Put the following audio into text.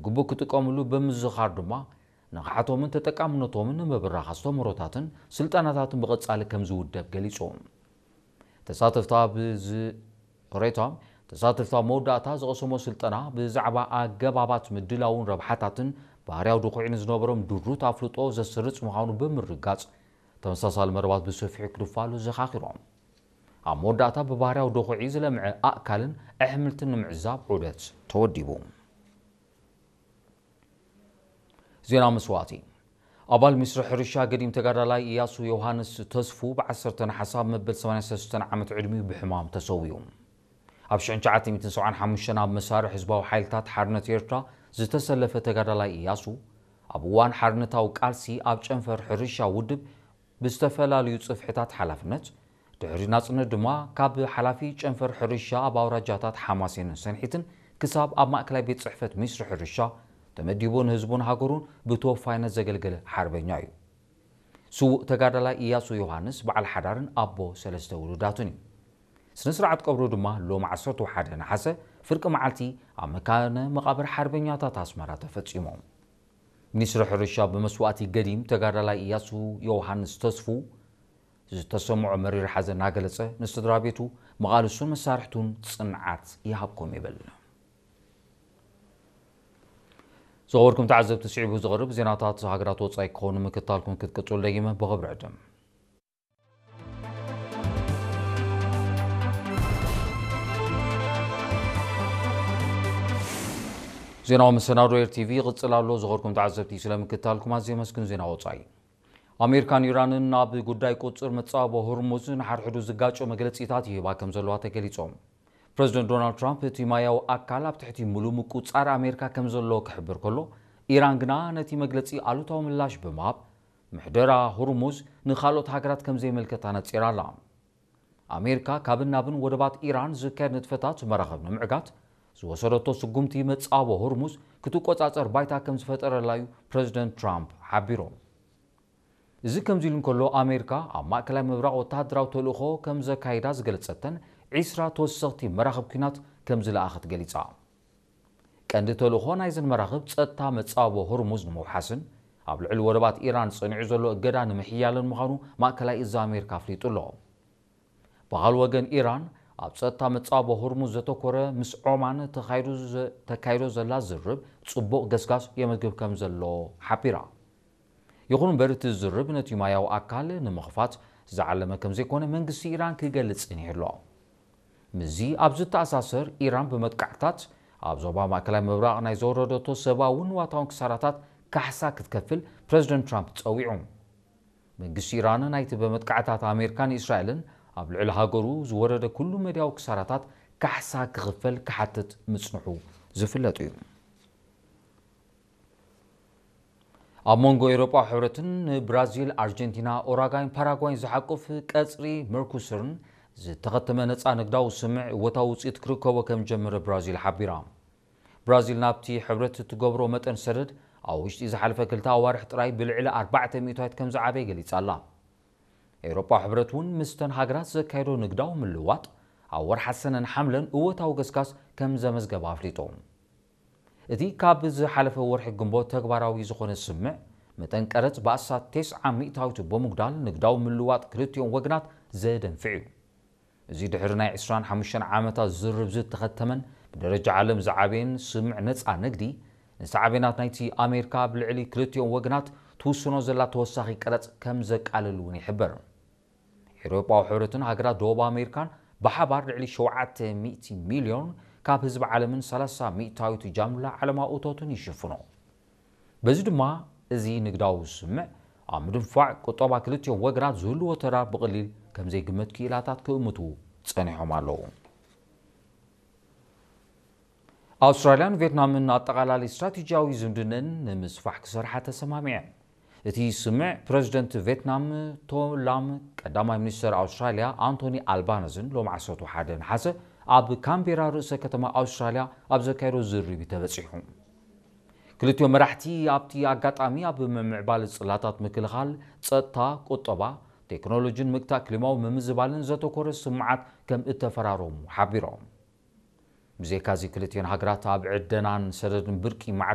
ግቡእ ክጥቀምሉ ብምዝኻር ድማ ንቕሓቶምን ተጠቃምነቶምን ንምብራኽ ኣስተምህሮታትን ስልጠናታትን ብቐጻሊ ከም ዝውደብ ገሊጹ። ተሳተፍቲ ኣብ ዝቕሬታ ተሳተፍቲ ኣብ መወዳእታ ዝቐሰሞ ስልጠና ብዛዕባ ኣገባባት ምድላውን ረብሓታትን ባህርያዊ ድኹዒ ንዝነበሮም ድሩት ኣፍልጦ ዘስርጽ ምዃኑ ብምርጋጽ፣ ተመሳሳሊ መርባት ብሰፊሑ ክድፋሉ ዘኻኺሮም። ኣብ መወዳእታ ብባህርያዊ ድኹዒ ዝለምዐ ኣእካልን ኣሕምልትን ንምዕዛብ ዑደት ተወዲቡ። ዜና መስዋእቲ። ኣባል ሚኒስትሪ ሕርሻ ገዲም ተጋዳላይ ኢያሱ ዮሃንስ ተስፉ ብ ዓሰርተ ነሓሰ ኣብ መበል ሰማንያን ሰለስተን ዓመት ዕድሚኡ ብሕማም ተሰዊኡ። ኣብ ሽሕን ትሽዓተ ሚእትን ሰብዓን ሓሙሽተን ኣብ መሳርዕ ህዝባዊ ሓይልታት ሓርነት ኤርትራ ዝተሰለፈ ተጋዳላይ ኢያሱ፣ ኣብ እዋን ሓርነታዊ ቃልሲ ኣብ ጨንፈር ሕርሻ ውድብ ብዝተፈላለዩ ጽፍሕታት ሓላፍነት፣ ድሕሪ ናጽነት ድማ ካብ ሓላፊ ጨንፈር ሕርሻ ኣብ ኣውራጃታት ሓማሴንን ሰንሒትን ክሳብ ኣብ ማእከላይ ቤት ጽሕፈት ሚኒስትሪ ሕርሻ ተመዲቡ ንህዝቡን ሃገሩን ብተወፋይነት ዘገልገለ ሓርበኛ እዩ። ስዉእ ተጋዳላይ ኢያሱ ዮሃንስ በዓል ሓዳርን ኣቦ ሰለስተ ውሉዳትን እዩ። ስነ ስርዓት ቀብሩ ድማ ሎም ዓሰርተ ሓደ ነሓሰ ፍርቂ መዓልቲ ኣብ መካነ መቓብር ሓርበኛታት ኣስመራ ተፈጺሙ። ሚኒስትሪ ሕርሻ ብመስዋእቲ ገዲም ተጋዳላይ ኢያሱ ዮሃንስ ተስፉ ዝተሰምዖ መሪር ሓዘን እናገለጸ፣ ንስድራ ቤቱ፣ መቓልሱን መሳርሕቱን ጽንዓት ይሃብኩም ይብል። ዝኸበርኩም ተዓዘብቲ፣ ስዒቡ ዝቐርብ ዜናታት ሃገራት ወጻኢ ክኸውን ምክታልኩም ክትቅጽሉ ደጊመ ብኽብሪ ዕድም። ዜናዊ መሰናዶ ኤር ቲቪ ይቕጽል ኣሎ። ዝኸበርኩም ተዓዘብቲ፣ ስለ ምክታልኩም ኣዝየ የመስግን። ዜና ወጻኢ። ኣሜሪካን ኢራንን ኣብ ጉዳይ ቁጽር መጻወቦ ሆርሙዝ ንሓድሕዱ ዝጋጮ መግለጺታት ይህባ ከም ዘለዋ ተገሊጾም። ፕረዚደንት ዶናልድ ትራምፕ እቲ ማያዊ ኣካል ኣብ ትሕቲ ምሉእ ምቁጻር ኣሜሪካ ከም ዘሎ ክሕብር ከሎ፣ ኢራን ግና ነቲ መግለጺ ኣሉታዊ ምላሽ ብምሃብ፣ ምሕደራ ሆርሙዝ ንኻልኦት ሃገራት ከም ዘይምልከት ኣነጺራ ኣላ። ኣሜሪካ ካብን ናብን ወደባት ኢራን ዝካየድ ንጥፈታት መራኽብ ንምዕጋት ዝወሰደቶ ስጉምቲ መጻወቦ ሆርሙዝ ክትቆጻጸር ባይታ ከም ዝፈጠረላ እዩ ፕረዚደንት ትራምፕ ሓቢሮም። እዚ ከምዚ ኢሉ እንከሎ፣ ኣሜሪካ ኣብ ማእከላይ ምብራቕ ወተሃደራዊ ተልእኾ ከም ዘካይዳ ዝገለጸተን ዒስራ ተወሰኽቲ መራኽብ ኲናት ከም ዝለኣኸት ገሊጻ። ቀንዲ ተልእኾ ናይዘን መራኽብ ጸጥታ መጻወቦ ሆርሙዝ ንምውሓስን ኣብ ልዕሊ ወደባት ኢራን ጸኒዑ ዘሎ እገዳ ንምሕያልን ምዃኑ ማእከላይ እዝ ኣሜሪካ ኣፍሊጡ ኣሎ። ብኻልእ ወገን፣ ኢራን ኣብ ጸጥታ መጻወቦ ሆርሙዝ ዘተኮረ ምስ ዖማን ተኻይዱ ዘ-፣ ተካይዶ ዘላ ዝርብ ጽቡቕ ገስጋስ የመዝግብ ከም ዘሎ ሓቢራ። ይኹን እምበር፣ እቲ ዝርብ ነቲ ማያዊ ኣካል ንምኽፋት ዝዓለመ ከም ዘይኮነ መንግስቲ ኢራን ክገልጽ ጸኒሑ ኣሎ። ምስዚ ኣብ ዝተኣሳሰር፣ ኢራን ብመጥቃዕትታት ኣብ ዞባ ማእከላይ ምብራቕ ናይ ዘወረደቶ ሰብኣውን ንዋታውን ክሳራታት ካሕሳ ክትከፍል ፕረዚደንት ትራምፕ ጸዊዑ። መንግስቲ ኢራን ናይቲ ብመጥቃዕትታት ኣሜሪካን እስራኤልን ኣብ ልዕሊ ሃገሩ ዝወረደ ኩሉ መድያዊ ክሳራታት ካሕሳ ክኽፈል ክሓትት ምጽንሑ ዝፍለጥ እዩ። ኣብ መንጎ ኤውሮጳዊ ሕብረትን ንብራዚል፣ ኣርጀንቲና፣ ኡራጋይን ፓራጓይን ዝሓቁፍ ቀጽሪ መርኩስርን ዝተኸተመ ነጻ ንግዳዊ ስምምዕ እወታዊ ውጽኢት ክርከቦ ከም ዝጀመረ ብራዚል ሓቢራ። ብራዚል ናብቲ ሕብረት እትገብሮ መጠን ሰደድ ኣብ ውሽጢ ዝሓለፈ ክልተ ኣዋርሕ ጥራይ ብልዕሊ ኣርባዕተ ሚእታዊት ከም ዝዓበየ ገሊጻ ኣላ። ኤውሮጳዊ ሕብረት እውን ምስተን ሃገራት ዘካየዶ ንግዳዊ ምልውዋጥ ኣብ ወርሓ ሰነን ሓምለን እወታዊ ገስጋስ ከም ዘመዝገበ ኣፍሊጡ። እቲ ካብ ዝሓለፈ ወርሒ ግንቦት ተግባራዊ ዝኾነ ስምምዕ፣ መጠን ቀረጽ ብኣስታት ተስዓ ሚእታዊት ብምጉዳል ንግዳዊ ምልውዋጥ ክልቲኦም ወገናት ዘደንፍዕ እዩ። እዚ ድሕሪ ናይ ዕስራን ሓሙሽተን ዓመታት ዝርርብ ዝተኸተመን ብደረጃ ዓለም ዝዓበየን ስምምዕ ነጻ ንግዲ፣ ንሳዕቤናት ናይቲ ኣሜሪካ ኣብ ልዕሊ ክልቲኦም ወገናት ትውስኖ ዘላ ተወሳኺ ቀረጽ ከም ዘቃልል እውን ይሕበር። ኤውሮጳዊ ሕብረትን ሃገራት ደቡብ ኣሜሪካን ብሓባር ልዕሊ ሸውዓተ ሚእቲ ሚልዮን ካብ ህዝቢ ዓለምን ሰላሳ ሚእታዊት ጃምላ ዓለማዊ እቶትን ይሽፍኖ። በዚ ድማ፣ እዚ ንግዳዊ ስምምዕ ኣብ ምድንፋዕ ቁጠባ ክልቲኦም ወገናት ዝህልዎ ተራ ብቐሊል ከም ዘይግመት ክኢላታት ክእምቱ ጸኒሖም ኣለዉ። ኣውስትራልያን ቬትናምን ኣጠቓላሊ ስትራቴጂያዊ ዝምድነን ንምስፋሕ ክሰርሓ ተሰማሚዐን። እቲ ስምምዕ፣ ፕረዚደንት ቬትናም ቶላም ቀዳማይ ሚኒስተር ኣውስትራልያ ኣንቶኒ ኣልባነዝን ሎም ዓሰርተ ሓደ ነሓሰ ኣብ ካምቤራ ርእሰ ከተማ ኣውስትራልያ ኣብ ዘካየዶ ዝርርብ እዩ ተበጺሑ። ክልቲኦም መራሕቲ ኣብቲ ኣጋጣሚ ኣብ ምምዕባል ጽላታት ምክልኻል፣ ጸጥታ፣ ቁጠባ፣ ቴክኖሎጂን ምግታእ ክሊማዊ ምምዝባልን ዘተኮረ ስምምዓት ከም እተፈራረሙ ሓቢሮም። ብዘይካዚ፣ ክልቲኦን ሃገራት ኣብ ዕደናን ሰደድን ብርቂ ማዕድናት